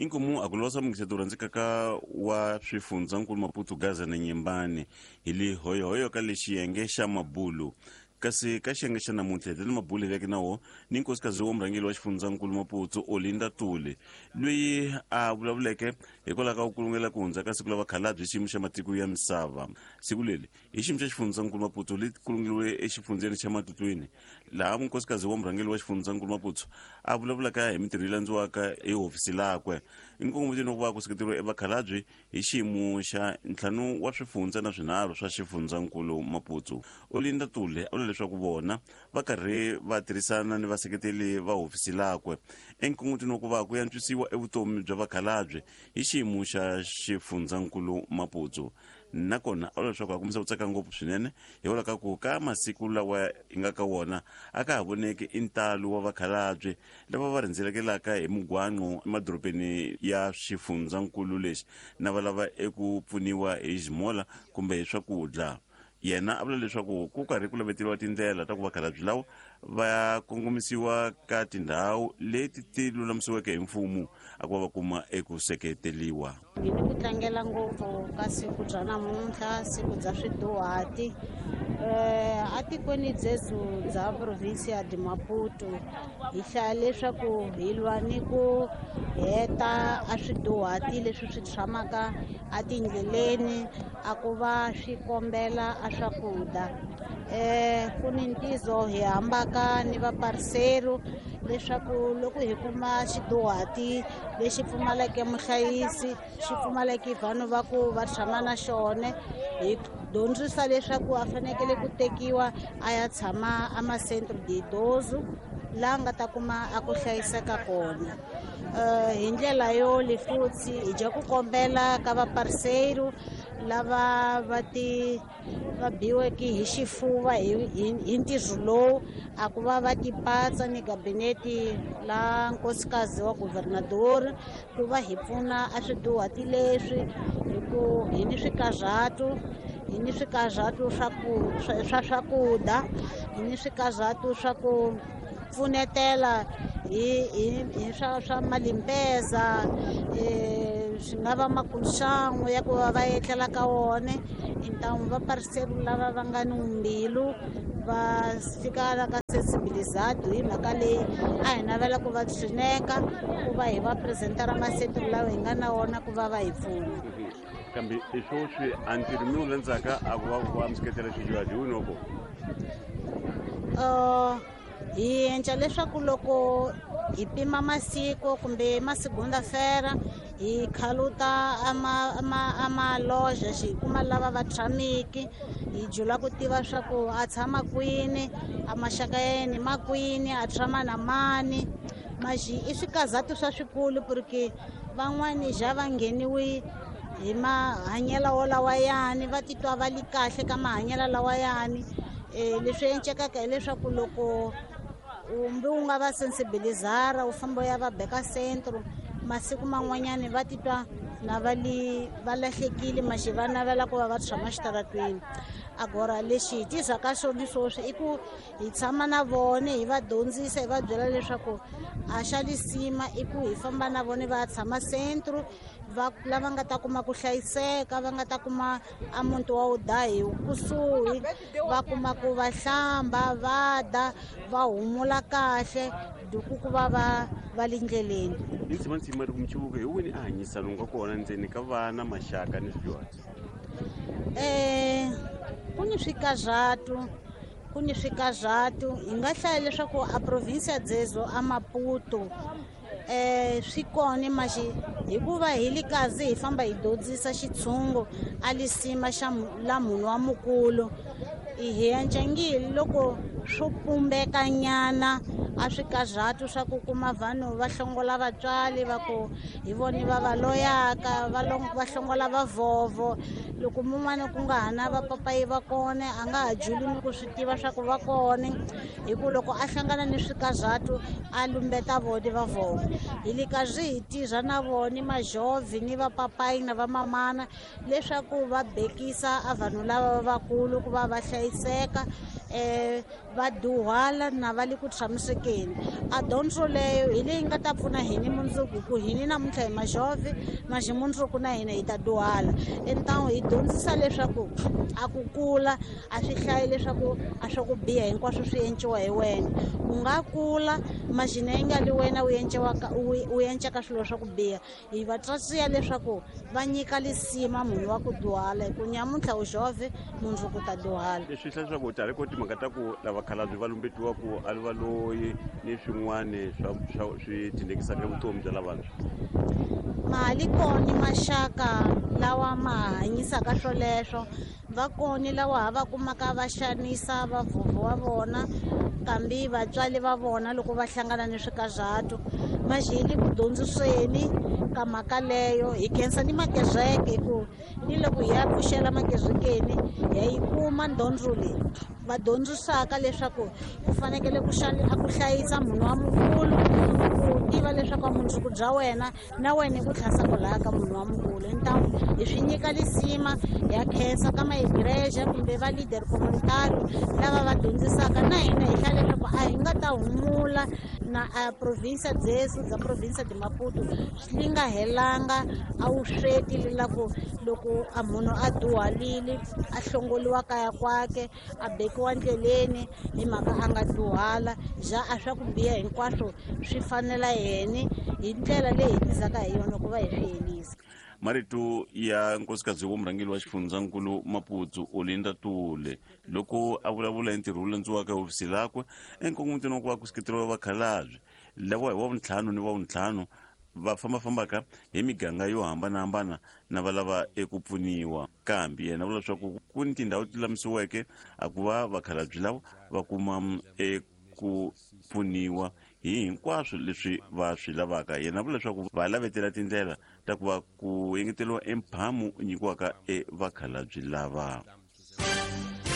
Inkomu a ku losa munghiseto rhandzekaka wa swifundzankulu Maputo, Gaza na Nyembani hi le hoyohoyo ka le xiyenge xa Mabulu. Kasi ka xiyenge xa namuntlha hi tele mabulu hi veke na wo ni nkosikazi wa murhangeri wa xifundzankulu Maputo Olinda Tuli, loyi a vulavuleke hikwalaho ka ku kulungela ku hundza ka siku la vakhalabye xiyimo xa matiko ya misava. Siku leri hi xiyimo xa xifundzankulu Maputo li kulungeriwe exifundzeni xa Matutlwini, laha munkosikazi wa murhangeri wa xifundzankulu Maputo a vulavulaka hi mintirho yi landziwaka hi hofisi lakwe nkongometweni wa ku va ku seketeriwa evakhalabye hi xiyimo xa ntlhanu wa swifundza na swinharhu swa xifundzankulu Maputo. Olinda Tule a vula leswaku vona va karhi va tirhisana ni vaseketeli va hofisi lakwe enkongotweni wa ku va ku yantswisiwa evutomi bya vakhalabye hi xiyimo xa xifundzankulu Maputo. Nakona a vula leswaku a kombisa ku tsaka ngopfu swinene hikwalaho ka ku ka masiku lawa hi nga ka wona a ka ha voneki i ntalo wa vakhalabye lava va rhendzelekelaka hi mugwanqo emadorobeni ya xifundzankulu lexi na va lava eku pfuniwa hi ximola kumbe hi swakudya. Yena a vula leswaku ku karhi ku laveteriwa tindlela ta ku vakhalabye lawa va kongomisiwa ka tindhawu leti ti lulamisiweke hi mfumo a ku va va kuma eku seketeriwa. Hi ni ku tlangela ngopfu ka siku bya namuntlha, siku bya swiduhati atikweni dzezu bya provinsia de Maputo. Hi hlaya leswaku hi lwa ni ku heta a swiduhati leswi swi tshamaka atindleleni a ku va swi kombela a swakudya. Ku ni ntizo hi hambaka ni vaparisero leswaku loko hi kuma xiduhati lexi pfumaleke muhlayisi, xi pfumaleke vanhu va ku va tshama na xona, hi dyondzisa leswaku a fanekele ku tekiwa a ya tshama a ma-centre de idoso laha nga ta kuma a ku hlayiseka kona. Hi ndlela yo le futhi hi dya ku kombela ka vaparseiro lava va ti va biweke hi xifuva hi ntirho lowu a ku va va tipatsa ni gabinete la nkosikazi wa governador ku va hi pfuna a swiduhati leswi, hi ku hi ni swikarhatu, hi ni swikarhatu swa ku swa swakudya, hi ni swikarhatu swa ku pfunetela hi swa malimpeza, swi nga va makulxangu ya ku va va etlela ka wona. Intamu va pariseri lava va nga ni mbilu va fika la ka sensibilizado hi mhaka leyi a hi navela ku va tshineka ku va hi va presentera masetulu lawa hi nga na wona ku va va hi pfuna. Kambe i swoswi a ntirho mi wu landzaka a ku va ku va mi seketela swidyuhari hi wini wa kona? Hi endla leswaku loko hi pima masiku kumbe masigunda-fera hi khaluta a maloja xi kuma lava va tshamiki, hi jula ku tiva swa ku a tshama kwini, a maxaka ya yena ma kwini, a tshama na mani. Maxi i swikazatu swa swikulu porque van'wani ja va ngheniwi hi mahanyelo wolawayani, va titwa va li kahle ka mahanyelo lawayani. Leswi encekaka hileswaku loko umbi u nga va sensibilizara u famba u ya va beka centro, masiku man'wanyani va titwa na va li va lahlekile, maxi va navela ku va va tshama xitaratweni. Agora lexi hi tizaka xona sweswi i ku hi tshama na vona, hi va dyondzisa, hi va byela leswaku a xa lisima i ku hi famba na vona va tshama centro, va lava nga ta kuma ku hlayiseka, va nga ta kuma a muti wa udahi kusuhi, va kuma ku va hlamba, va dya, va humula kahle duku ku va va va le ndleleni. Ni tshama ntsima ri ku michuvuko hi wini a hanyisa lowu nga kona ndzeni ka vana, maxaka ni swidyuhari? Ku ni swikarhatu, ku ni swikarhatu. Hi nga hlaya leswaku a provinsia dzezo a Maputo swi kona maxi hikuva hi li kazi hi famba hi dyondzisa xitshungu a lisima xa la munhu wa mukulu, hi encengile loko swo pumbeka nyana a swikarhatu swa ku kuma vanhu va hlongola vatswari va ku hi vona va va loyaka, va hlongola vavhovho. Loko mun'wana ku nga ha na vapapayi va kona, a nga ha juli ni ku swi tiva swa ku va kona, hi ku loko a hlangana ni swikarhatu a lumbeta vona vavhovho. Hi le karhi hi tirha na vona majovhi ni vapapayi na vamamana leswaku va bekisa a vanhu lava vakulu ku va va hlayiseka. Va dyuhala na va le ku tshamisekeni. A dyondzo leyo hi leyi nga ta pfuna hini mundzuku, hi ku hini namuntlha hi majove, maxi mundzuku na hina hi ta dyuhala. Entamu hi dyondzisa leswaku a ku kula a swi hlayi leswaku a swa ku biha hinkwaswo swi enciwa hi wena. U nga kula maxina yi nga li wena u enciwaka, u encaka swilo swa ku biha. Hi va tswatsiya leswaku va nyika lisima munhu wa ku dyuhala, hi ku nyamuntlha u jove, mundzuku ta dyuhala. Leswi hlaya leswaku ta ri ko timhaka ta ku lava khalabye va lumbetiwa ku a va loyi ni swin'wana swa swi tindekisaka vutomi bya lavantshwa. Mali koni maxaka lawa ma hanyisaka swoleswo, va koni lawa ha va kumaka va xanisa vavhovho wa vona kambe vatswari va vona loko va hlangana ni swikazatu. Maxi ku dyondziseni ka mhaka leyo hi khensa ni makereke, ku ni loko hi ya pfuxela makerekeni hi yi kuma dyondzo leyi va dyondzisaka leswaku ku fanekele ku ku hlayisa munhu wa mukulu, ku tiva leswaku mundzuku bya wena na wena i ku tlhasa kwalaya ka munhu wa mukulu. Ntamu hi swi nyika lisima, ya khensa ka maigreja kumbe va leader communitario lava va dyondzisaka na hina hi hlaya leswaku a hi nga ta humula na a provinsia dzesu dza provinsia de Maputo swi nga helanga a wu sweti lelaku loko a munhu a dyuhalile a hlongoliwa kaya kwake a bekiwa ndleleni hi mhaka a nga dyuhala, ja a swa ku biha hinkwaswo swi fanela yena hi ndlela leyi hi tizaka hi yona ku va hi swi helisa. Marito ya nkosikazi wa murhangeri wa xifundzankulu Maputo Olinda Tule loko a vulavula hi ntirho wu landziwaka ehofisi lakwe enkongomutini wa ku va ku seketeriwa vakhalabye lava hi wa vuntlhanu ni wa vuntlhanu va fambafambaka hi miganga yo hambanahambana na va lava eku pfuniwa. Kambe yena vula leswaku ku ni tindhawu ti lulamisiweke a ku va vakhalabye lava va kuma eku pfuniwa hi hinkwaswo leswi va swi lavaka. Yena vula leswaku va lavetela tindlela ta ku va ku engeteriwa emphamu nyikiwaka evakhalabye lava.